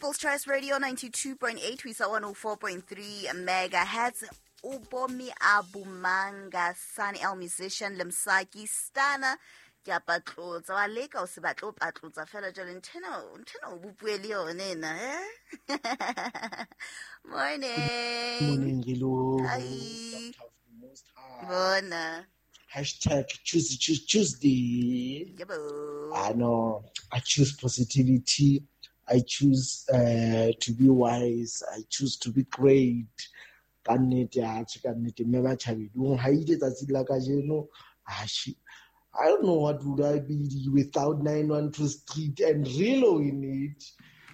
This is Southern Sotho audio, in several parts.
People's Choice Radio 92.8 ho isa 104.3 megahertz. Ubomi Abumanga, Sun El musician, le Msaki Stana. Ke a patlotsa, wa leka o se batle o patlotsa fela jwale nthena o bopue le yone ena, eh? Morning. Morning, Rilo. Hi. Bona. Hashtag choose, choose, Tuesday. Yebo. I know. I choose positivity. I choose to be wise. I choose to be great. Ka nnete, atjhe, ka nnete, mme ba tjhabedi, o nhaile tsatsi la kajeno. Atjhe, I don't know what would I be without 912 Street and Rilo in it.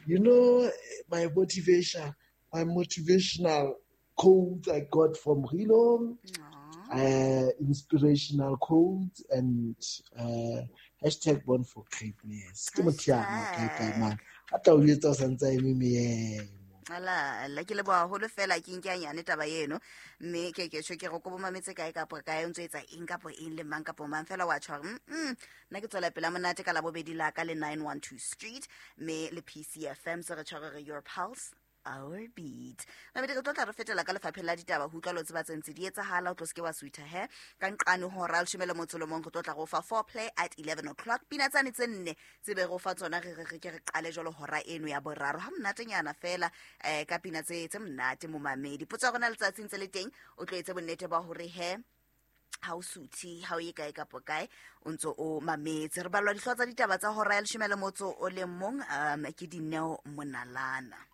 You know, my motivation, my motivational quote I got from Rilo, inspirational quotes and hashtag born for greatness. Ke motho ya mo kae kae man. A tla o etsa o santse a eme meemo. Ala, la ke leboha haholo fela ke nke nyane taba eno, mme ke ke tjho ke re ko bo mametse kae kapo kae, o ntso etsa eng kapo eng le mang kapo mang fela wa tjho hore, nna ke tswela pela monate ka Labobedi la ka le 912 Street, mme le PCFM se re tjho re your pulse our beat. Mamedi, re tlo tla re fetela ka lefapheng la ditaba ho utlwa lo tseba tse ntse di etsahala, o tlo se ke wa suitha he. Ka nqane hora ya leshome le motso le mong re tlo tla re o fa foreplay at 11 o'clock. Pina tsane tse nne tse be re o fa tsona re re re ke re qale jwalo hora eno ya boraro. Ha monatenyana fela, ka pina tse monate momamedi. Potso ya rona letsatsing tse le teng, o tlo etse bonnete ba hore he ha o suthe, ha o ye kae kapo kae, o ntso o mametse. Re balwa dihlooho tsa ditaba tsa hora ya leshome le motso o le mong, ke Dineo Monalana.